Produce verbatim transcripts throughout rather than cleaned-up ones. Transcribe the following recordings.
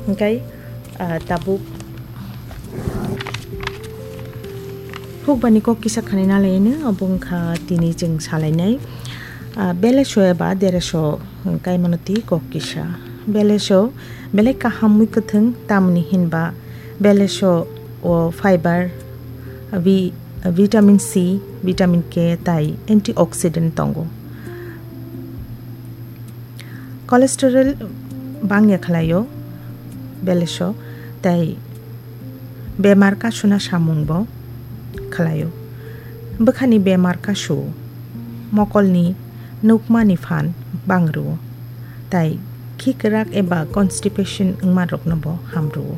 Hingkai, ah, tabuk hukbani kok kisa khani nalaino, obo wngkha tini chwng salainai, ah, beleso eba dereso kaimano twi kok kisa. Beleso belai kaham mui kwthwng, tamni hinba beleso o fiber, vi-, vitamin C, vitamin K tai antioxidant tongo. Cholesterol bangya khlaio beleso, tai bemar kasuna samung bo khlaio. Bwkhani bemar kasu, mokolni nukmani phan bangrwo, tai khikrak eba constipation wngmarokno bo hamrwo.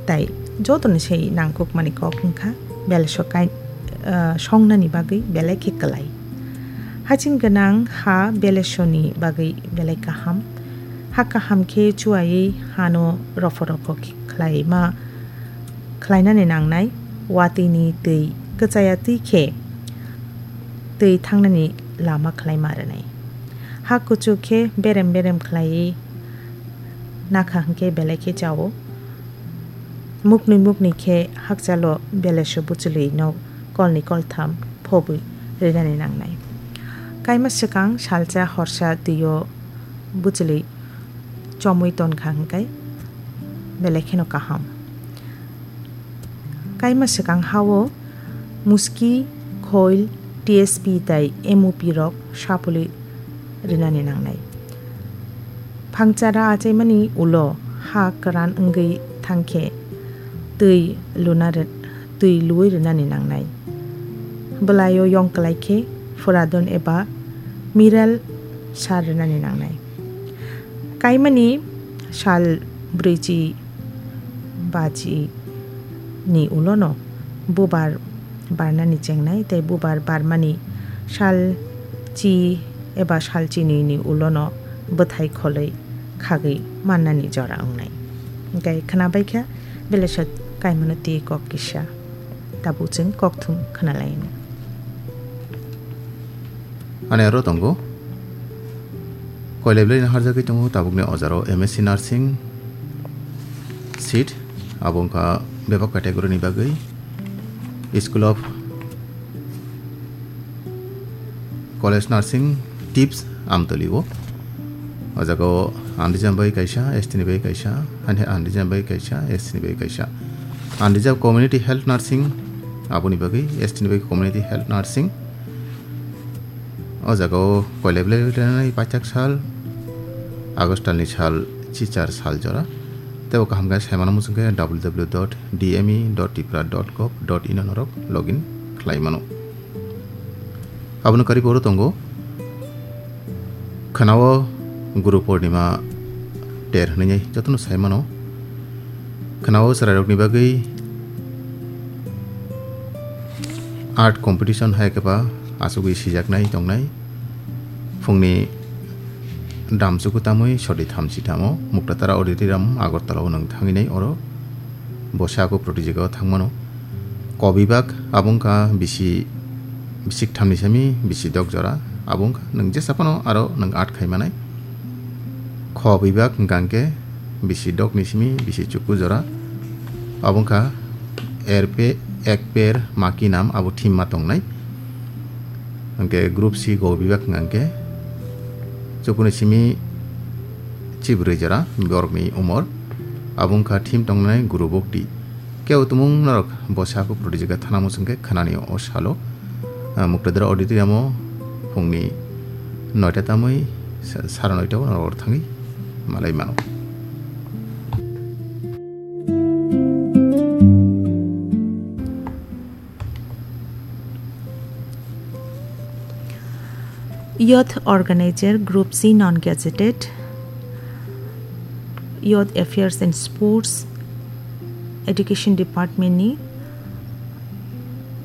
Tai jotoni se nangkukmani kok wngkha beleso kai-, ah, songnani bagwi belai khe kwlai. Haching gwnang ha belesoni bagwi belai kaham. Ha kaham khe chuwaiwi hano rophor rophor khe khlaima, khlainani nangnai. Watwini twi kwchaya twi khe twi thangnani lama khlaima rwnai. Ha kuchuk khe berem berem khlaiwi nakha hwnkhe belai khe chao. Muknwi muknwi khe hakchalo beleso bwchwlwino kolni koltham phobwi rinani nangnai. Kaima swkang salsa horsa twio bwchwlwi chomwi tonkha hwnkhe belai kheno kaham. Kaima swkang hao muski, khoil, T S P tai M O P rok sapulwi rinani nangnai. Phangchara achaimani ulo ha kwran wngwi thangkhe twi luna ri-, twi luwi rinani nangnai. Bwlaio yong kwlai khe furadon eba miral sar rinani nangnai. Kaimani sal brwichi bachi ni ulono bubar barnani chengnai tei bubar barmani sal chi eba sal chini ni ulono bwthai kholwi khagwi mannani jora wngnai. Hingkhe khwnabaikha beleso kaimano twi kok kisa. Tabuk chwng kokthum khwnalaino. Ani aro tongo. Koilai belai no harjagwi tongo tabukni ojaro M S C nursing seat, abo wngkha bebak category ni bagwi School of College Nursing, Tips, Amtwlwi o. O jaga o unreserved bai kaisa, S T ni bai kaisa, ani unreserved bai kaisa, S T ni bai kaisa. Unreserved Community Health Nursing, aboni bagwi S T ni bai Community Health Nursing. O jaga o koilai belai rwnai paithak sal, August talni sal, chichar sal jora. Tei o kaham khe saimano muchung khe W W W dot D M E dot tripura dot gov dot in o norok login khlai mano. Abono karwi bo oro tongo. Khwnao Guru Purnima ter hwnwi jotono sai mano. Khwnao chwrairokni bagwi art competition hai khe ba achugwi sijaknai tongnai. Phungni damchuku tamwi sori thamchi tamo Muktatara Auditorium Agartala o nwng thangwi nai oro. Bo sako protijagao thangmano. Ko bibak abo wngkha bisi, bisi ktham ni simi bisi dok jora. Abo wngkha nwng jesa phano aro nwng art khai manai. Kho bibak hwnkha hwnkhe bisi dok ni simi bisi chuku jora. Abo wngkha er pe-, ek per ma ki nam abo theme ma tongnai. Hwnkhe group C go bibak hwnkha hwnkhe chukuni simi chibrwi jora borokni umor. Abo wngkha theme tongnai Guru Bhakti. Kebo tumung norok bo sako protijagao thana muchung khe khwnani o salo, ah, Muktatara Auditorium o phungni noita tamwi sa-, sara noita o norok thangwi malai mano. Youth Organizer, Group C, Non-Gazetted, Youth Affairs and Sports, Education Department ni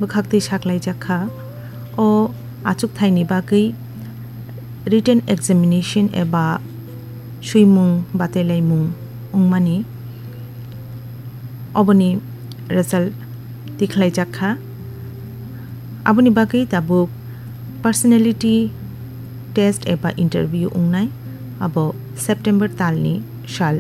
bwkhaktwi saklaijak kha. O achukthai ni bagwi written examination eba swimung batailaimung wngmani oboni result tikhlaijak kha. Aboni bagwi tabuk personality test eba interview wngnai, abo September talni sal